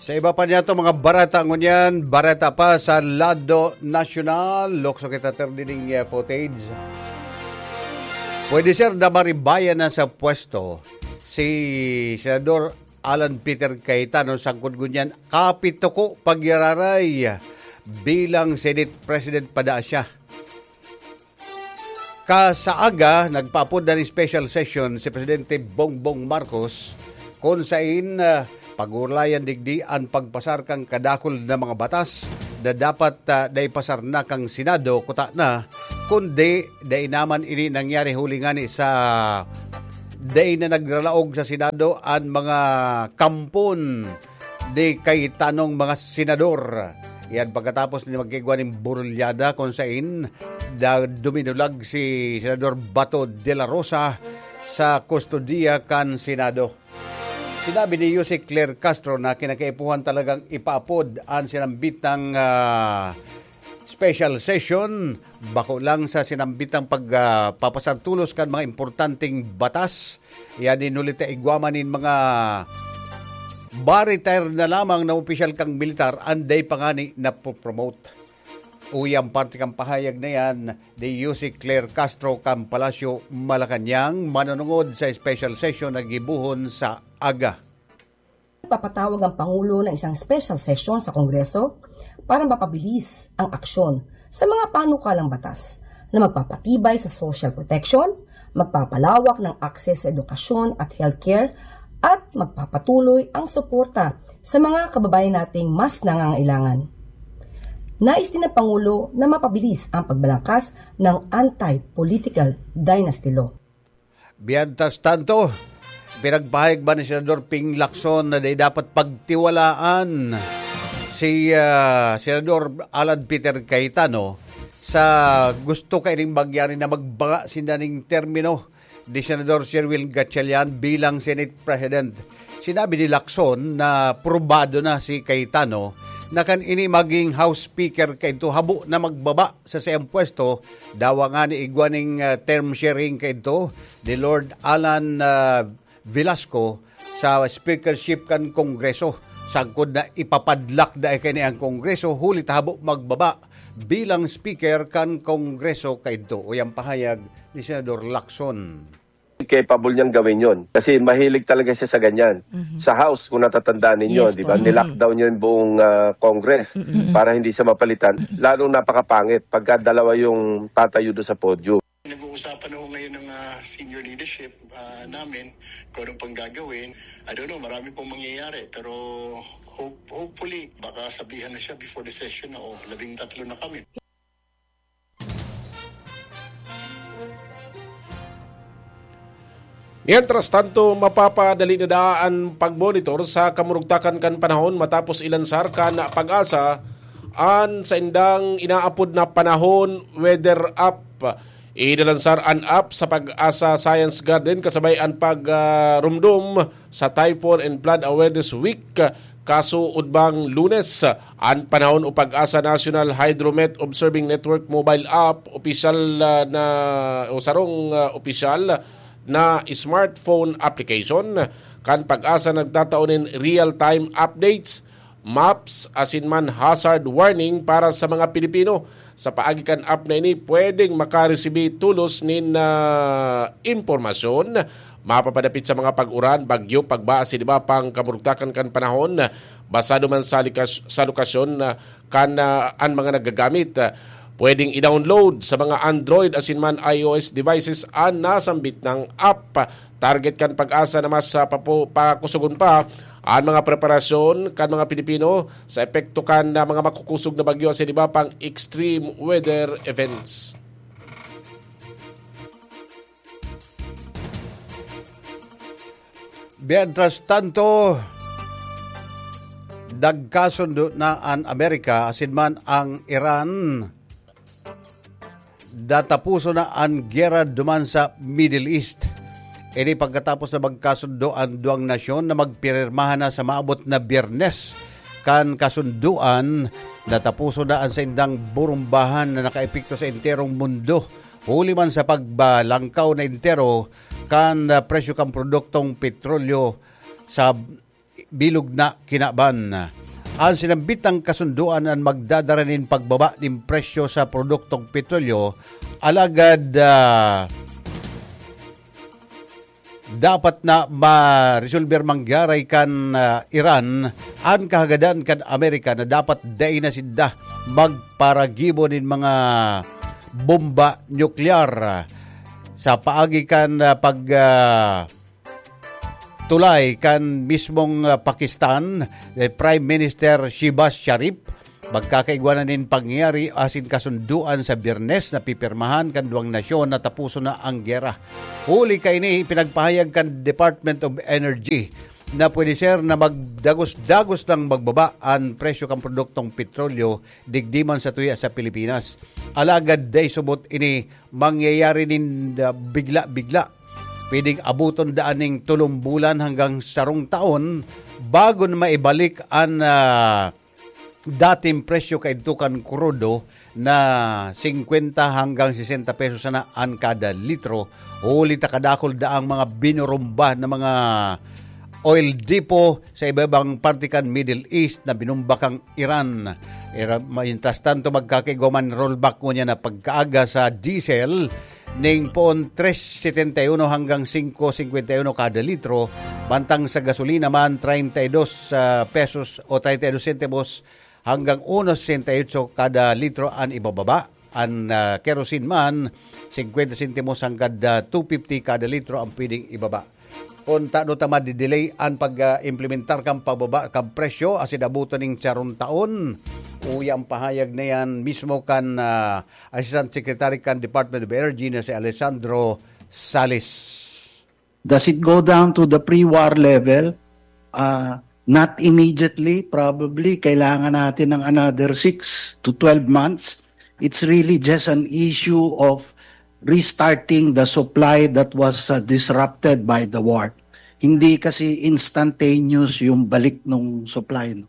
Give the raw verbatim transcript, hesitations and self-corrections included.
Sa iba pa niyato mga bareta ngunyan, bareta pa sa lado nasyonal, lukso kita ter dining, eh, footage. Pwede, sir, na maribayan na sa pwesto si Senador Alan Peter Cayetano sangkod ngunyan kapituko pagyararay bilang Senate President pa daa siya. Kasaaga, nagpaapod na nin special session si Presidente Bongbong Marcos, kun sain, ah, pag-uulayan digdi an pagpasar kan kadakul na mga batas na dapat, ah, naipasar na kan Senado kuta na, kundi dai naman ini nangyari huli ngani sa dai na nagralaog sa Senado an mga kampon ni Cayetanong mga senador. Yan pagkatapos ni magkaigwa nin burulyada kun sain da-, duminulag si Senador Bato de la Rosa sa kustodiya kan Senado. Sinabi ni Yusek Claire Castro na kinakaipuhan talagang ipaapod an sinambitang, ah, special session, bako lang sa sinambitang pag, ah, papasar tolos kan mga importanteng batas. Yan, inulit na igwa man nin mga ba-retire na lamang na opisyal kan militar, an dai pa ngani napopromote. Uya an parte kan pahayag na yan ni Yusek Claire Castro kan Palasyo, Malacañang, manunungod sa special session na gibohon sa aga. Nagpapatawag ang Pangulo ng isang special session sa Kongreso para mapabilis ang aksyon sa mga panukalang batas na magpapatibay sa social protection, magpapalawak ng access sa edukasyon at healthcare, at magpapatuloy ang suporta sa mga kababayan nating mas nangangailangan. Nais din ng Pangulo na mapabilis ang pagbalangkas ng anti-political dynasty law. Mientras tanto, pinagpahayag man ni Senador Ping Lacson na dai dapat pagtiwalaan si, ah, Senador Alan Peter Cayetano sa gusto kaining mangyari na magbanga sinda ning termino ni Senador Sherwin Gatchalian bilang Senate President. Sinabi ni Lacson na probado na si Cayetano na kan ini maging House Speaker kaidto, habo na magbaba sa saiyang pwesto, dawa ngani igwa ning, ah, term sharing kaidto ni Lord Alan, ah, Velasco sa speakership kan Kongreso. Sagkod na ipapadlak na kini ang Kongreso, huli ta habo magbaba bilang speaker kan Kongreso kaidto. Uya an pahayag ni Senador Lacson. Capable niyang gawin yon. Kasi mahilig talaga siya sa ganyan. Mhm. Sa House, kung natatandaan ninyo, Yes di po. ba, Mhm. nilockdown niya yung buong, ah, Congress Mhm. para hindi siya mapalitan. Mhm. Lalong napakapangit pagka dalawa yung tatayo doon sa podium. Nag-uusapan ako ngayon ng, ah, senior leadership, ah, namin kung anong pang gagawin. I don't know, marami pong mangyayari. Pero hope, hopefully, baka sabihan na siya before the session na, "Oh, labing tatlo na kami." Mientras tanto, mapapadali na daa an pagmonitor sa kamurugtakan kan panahon matapos ilansar kan PAGASA an saindang inaapod na panahon weather app. Inalansar an app sa PAGASA Science Garden kasabay an pag, ah, rumdom sa Typhoon and Flood Awareness Week kasuodbang Lunes. An panahon o PAGASA National Hydromet Observing Network mobile app, opisyal, ah, na, o sarong, ah, opisyal na smartphone application kan PAGASA nagtatao nin real-time updates, maps, asin man hazard warning para sa mga Pilipino. Sa paagi kan app na ini, pwedeng makaresibi tolos nin, ah, impormasyon mapapadapit sa mga pag-uran, bagyo, pagba asin iba pang kamurugtakan kan panahon. Basado man sa likas-, sa lokasyon, ah, kan, ah, an mga naggagamit. Ah, pwedeng i-download sa mga Android asin man iOS devices an nasambit nang app. Target kan PAGASA na mas, ah, papo-, pakusogon pa an mga preparasyon kan mga Pilipino sa epekto kan, ah, mga makukusog na bagyo asin iba pang extreme weather events. Mientras tanto, nagkasundo na an Amerika asin man ang Iran. Natapuson na an gera duman sa Middle East. Ini pagkatapos na magkasundo an duwang nasyon na magpirmahan na sa maabot na Biyernes. Kan kasundoan, natapuson na an saindang burumbahan na nakaepekto sa enterong mundo, huli man sa pagbalangkaw na entero kan, ah, presyo kan produktong petrolyo sa bilog na kinaban. An sinambitang kasundoan an magdadara nin pagbaba nin presyo sa produktong petrolyo, alagad, ah, dapat na maresolber man giraray kan, ah, Iran an kahagadan kan Amerika na dapat dai na sinda magparagibo nin mga bomba nuklear. Sa paagi kan, ah, pag, ah, tulay kan mismong, ah, Pakistan, eh, Prime Minister Shehbaz Sharif, magkakaigwa na nin pangyayari asin kasundoan sa Biyernes na pipirmahan kan duwang nasyon na tapuson na ang gera. Huli kaini, ipinagpahayag kan Department of Energy na pwede ser na magdagos-dagos lang magbaba an presyo kan produktong petrolyo digdi man sa tuya sa Pilipinas. Alagad dai subot ini mangyayari nin, ah, bigla-bigla. Pwedeng abuton daa ning tolong bulan hanggang sarong taon bago na maibalik an, ah, dating presyo kaidto kan krudo na singkwenta hanggang sesenta pesos sana an kada litro. Huli ta kadakul daang mga binurumba na mga oil depot sa iba-ibang parte kan Middle East na binumba kan Iran. Era, mientras tanto, magkakaigwa man rollback ngunyan na pagkaaga sa diesel ning poon tres setenta y uno hanggang singko singkwenta y uno kada litro, mantang sa gasolina man, treinta y dos, ah, pesos o treinta y dos sentimos hanggang uno sesenta y ocho kada litro an ibababa. An, ah, kerosene man, singkwenta sentimos hanggang, ah, two fifty kada litro ang pwedeng ibaba. Kun tano ta madidelay an pag, ah, implementar kan pababa kan presyo asin abuton ning sarong taon, uya ang pahayag na yan mismo kan, ah, Assistant Secretary kan Department of Energy na si Alessandro Salis. Does it go down to the pre-war level? Uh, not immediately, probably. Kailangan natin ng another six to twelve months. It's really just an issue of restarting the supply that was uh, disrupted by the war. Hindi kasi instantaneous yung balik ng supply. No?